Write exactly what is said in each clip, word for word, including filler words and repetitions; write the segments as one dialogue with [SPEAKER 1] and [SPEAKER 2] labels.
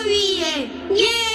[SPEAKER 1] Yeah!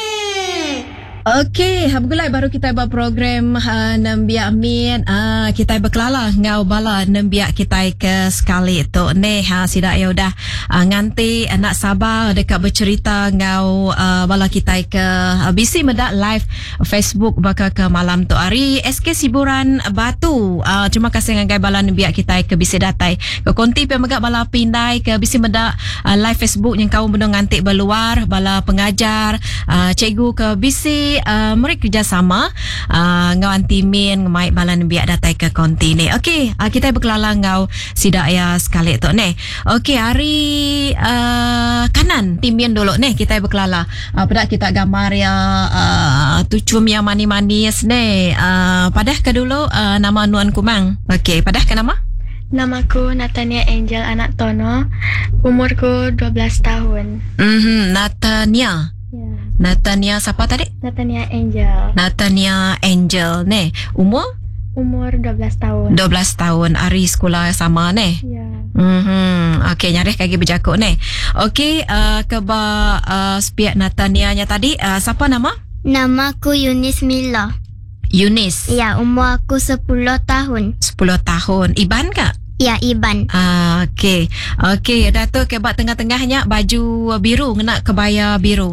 [SPEAKER 2] Okey, begulai baru kita ba program uh, Nembiak Mit. Uh, kita berkelala ngau bala nembiak kita ke sekali tu. Neh, ha, sidak ya udah uh, nganti anak sabar dekat bercerita ngau uh, bala kita ke uh, bisi medak live Facebook baka ke malam tu hari S K Siburan Batu. Uh, terima kasih ngagai bala nembiak kita ke bisi datai. Ke konti pe megak bala pindai ke bisi medak uh, live Facebook yang kau benung nganti berluar bala pengajar, uh, cikgu ke bisi Uh, meri kerjasama uh, ngau anti min ngemai bala nembiak datai ke konti ni. Okey, uh, kita berkelala ngau sidak ya sekali tu ni. Okey, hari uh, kanan timin dulu ni kita berkelala. Uh, pada kita gambar ya uh, tucum yang manis-manis ni. Uh, padah ke dulu uh, nama Nuan Kumang. Okey, padah ke nama?
[SPEAKER 3] Namaku Natania Angel anak Tono. Umurku dua belas tahun.
[SPEAKER 2] Mhm, Natania.
[SPEAKER 3] Ya.
[SPEAKER 2] Natania siapa tadi?
[SPEAKER 3] Natania Angel.
[SPEAKER 2] Natania Angel ni. Umur?
[SPEAKER 3] Umur dua belas tahun.
[SPEAKER 2] dua belas tahun. Hari sekolah sama ni.
[SPEAKER 3] Ya.
[SPEAKER 2] Mhm. Okey, nyarih kaki berjakuk ni. Okey, uh, ke ba uh, sepiak Natania nya tadi, uh, siapa nama?
[SPEAKER 1] Nama aku Yunis Mila.
[SPEAKER 2] Yunis.
[SPEAKER 1] Ya, umur aku sepuluh tahun.
[SPEAKER 2] sepuluh tahun. Iban kak?
[SPEAKER 1] Ya, Iban.
[SPEAKER 2] Ah, okey. Okey, dah tu ke bak tengah-tengahnya baju biru ngena kebaya biru.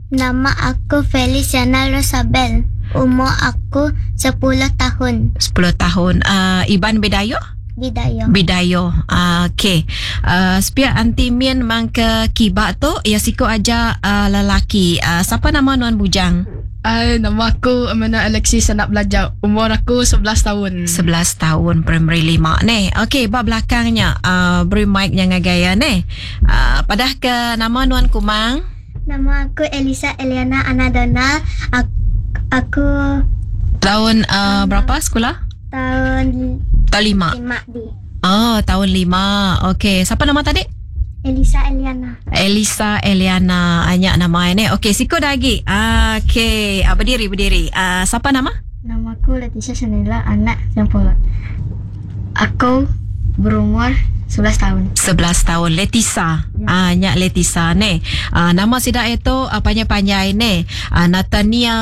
[SPEAKER 1] Nama aku Feliciana Rosabel. Umur aku sepuluh tahun.
[SPEAKER 2] sepuluh tahun. Uh, Iban Bidayo?
[SPEAKER 1] Bidayo.
[SPEAKER 2] Bidayo. Uh, okey. Uh, sepiak anti min mangke kibak tu ya siko aja uh, lelaki. Uh, siapa nama Nuan Bujang?
[SPEAKER 4] Ay, nama aku Amanda Alexis anak belajar. Umur aku sebelas tahun.
[SPEAKER 2] sebelas tahun, primary lima ni. Okey, bab belakangnya uh, beri mic yang gaya ni. Uh, padah ke nama Nuan Kumang?
[SPEAKER 1] Nama aku Elisa Eliana Anadona. Aku, aku
[SPEAKER 2] tahun uh, berapa sekolah?
[SPEAKER 1] Tahun
[SPEAKER 2] Tahun lima.
[SPEAKER 1] Lima D.
[SPEAKER 2] Oh, tahun lima. Okey, siapa nama tadi?
[SPEAKER 1] Elisa Eliana.
[SPEAKER 2] Elisa Eliana. Banyak nama ini. Okey, siko lagi. Okey, ah, berdiri berdiri. Ah, siapa nama?
[SPEAKER 3] Nama aku Leticia Shanela anak Sempolot. Aku berumur sebelas tahun.
[SPEAKER 2] sebelas tahun. Letisa. Ya. Ah, nyak Letisa ni. Ah, nama sidak itu ah, panjai-panjai ni. Ah, Natania,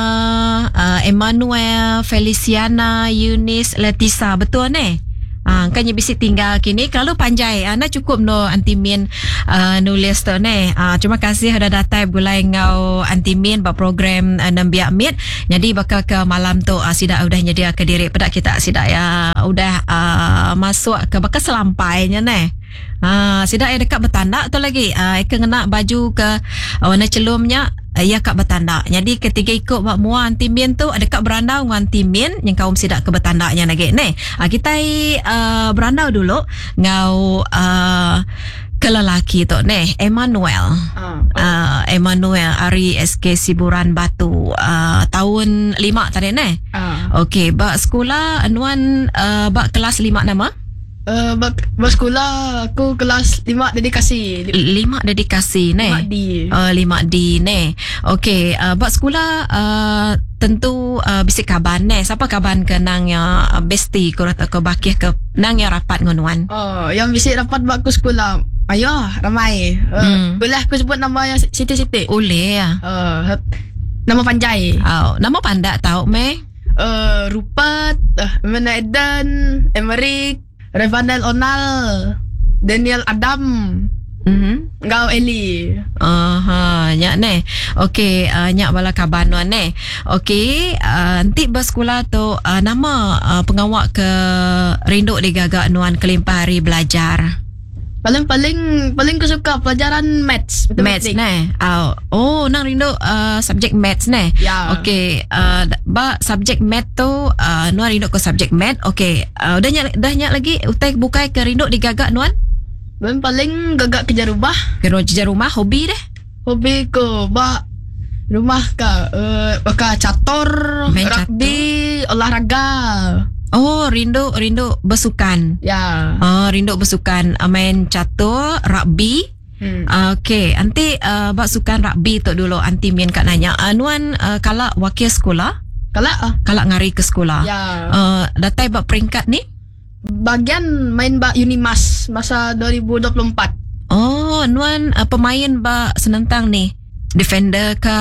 [SPEAKER 2] ah, Emmanuel, Feliciana, Eunice, Letisa. Betul ni? Ah, kan bisi tinggal kini kalau panjai. Ah, nak cukup no anti min uh, nulis tu ni. Ah, terima kasih sudah datang gulai ngau anti min ba program uh, Nembiak Mit. Jadi bakal ke malam tu uh, sidak udah nyedia ke diri pedak kita sidak ya udah uh, masuk ke bakal selampainya ni. Ah, sidak ya dekat bertanda tu lagi. Ah, eka ngena baju ke uh, warna celumnya ya kak bertanda. Jadi ketiga ikut buat mua anti min tu ada kak berandau dengan anti min yang kaum sidak ke bertandanya lagi ni. Ah, kita uh, berandau dulu ngau uh, ke lelaki tu ni Emmanuel.
[SPEAKER 4] Ah.
[SPEAKER 2] Uh, Emmanuel Ari S K Siburan Batu uh, tahun lima tadi ni.
[SPEAKER 4] Ah.
[SPEAKER 2] Okey, bak sekolah nuan uh, bak kelas lima nama?
[SPEAKER 4] Uh, bak, bak sekolah aku kelas lima dedikasi.
[SPEAKER 2] Lima dedikasi ni.
[SPEAKER 4] Lima D.
[SPEAKER 2] Uh, lima D ni. Okey, uh, bak sekolah uh, tentu uh, bisik kaban ni. Siapa kaban ke nang yang bestie ke atau ke bakih ke nang yang rapat ngonuan?
[SPEAKER 4] Oh, yang bisik rapat bak aku sekolah. Ayo, ramai. Uh,
[SPEAKER 2] Hmm.
[SPEAKER 4] Boleh aku sebut nama yang siti-siti?
[SPEAKER 2] Boleh ya.
[SPEAKER 4] Uh, nama panjai.
[SPEAKER 2] Oh, nama pandak tau meh?
[SPEAKER 4] Uh, Rupert, uh, Amanda Eden, Emerick, Revanel Onal, Daniel Adam,
[SPEAKER 2] Mhm.
[SPEAKER 4] Ngau Eli.
[SPEAKER 2] Aha, nyak ne. Okey, uh, nyak bala kaban nuan ne. Okey, uh, nanti bersekolah tu uh, nama uh, pengawak ke rinduk digagak nuan kelimpah hari belajar.
[SPEAKER 4] Paling-paling paling aku suka pelajaran maths.
[SPEAKER 2] Maths ne. Oh, oh nang rindu uh, subjek maths ne.
[SPEAKER 4] Ya.
[SPEAKER 2] Okey, uh, ba subjek math tu uh, nuan rindu ke subjek math. Okey, uh, dah nyak dah nyak lagi utai bukai ke rindu digagak nuan?
[SPEAKER 4] Paling paling gagak kerja rumah.
[SPEAKER 2] Kerja rumah hobi deh.
[SPEAKER 4] Hobi ko ba rumah ka uh, baka catur,
[SPEAKER 2] Main
[SPEAKER 4] rugby, olahraga.
[SPEAKER 2] Oh, rindu rindu bersukan.
[SPEAKER 4] Ya.
[SPEAKER 2] Oh, rindu bersukan, main catur, rugby.
[SPEAKER 4] Hmm.
[SPEAKER 2] Uh, Okey, nanti uh, bak sukan rugby tu dulu anti min kat nanya. Uh, nuan uh, kalak wakil sekolah?
[SPEAKER 4] Kalak ah.
[SPEAKER 2] Kalak ngari ke sekolah.
[SPEAKER 4] Ya.
[SPEAKER 2] Uh, datai bak peringkat ni?
[SPEAKER 4] Bagian main bak Unimas masa dua ribu dua puluh empat.
[SPEAKER 2] Oh, nuan uh, pemain bak senentang ni. Defender ke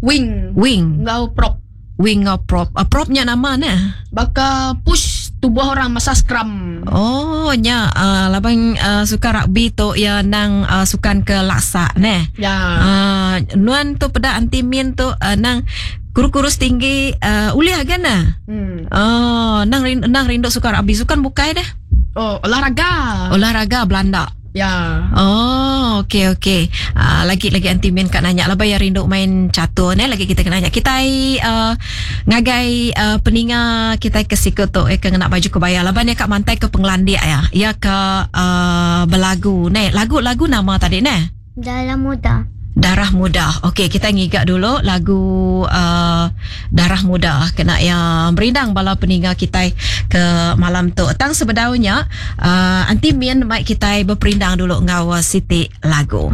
[SPEAKER 4] Wing.
[SPEAKER 2] wing?
[SPEAKER 4] Ngau prop.
[SPEAKER 2] Wing ngau prop. Uh, propnya nama ne?
[SPEAKER 4] Baka push tubuh orang masa scrum.
[SPEAKER 2] Oh, nya uh, labang uh, suka rugby tu ya nang uh, sukan ke laksa ne.
[SPEAKER 4] Ya.
[SPEAKER 2] Uh, nuan tu peda anti min tu uh, nang kurus-kurus tinggi uh, uliah kan na?
[SPEAKER 4] Hmm.
[SPEAKER 2] Oh, nang rindu, nang rindu suka rugby sukan bukai dah.
[SPEAKER 4] Oh, olahraga.
[SPEAKER 2] Olahraga Belanda.
[SPEAKER 4] Ya.
[SPEAKER 2] Oh, okey okey. Uh, lagi lagi anti min kat nanya lah bayar rindu main catur ne lagi kita kena nanya. Kita uh, ngagai uh, peninga kita ke siku tu eh ke ngena baju kebaya laban ya kat mantai ke penglandik ya. Ya ke uh, belagu ne. Lagu-lagu nama tadi ne.
[SPEAKER 1] Dalam muda.
[SPEAKER 2] Darah Muda. Okey, kita ngigak dulu lagu uh, Darah Muda kena yang berindang bala peninga kita ke malam tu. Tang sebedaunya uh, anti min mic kita berperindang dulu ngau Siti lagu.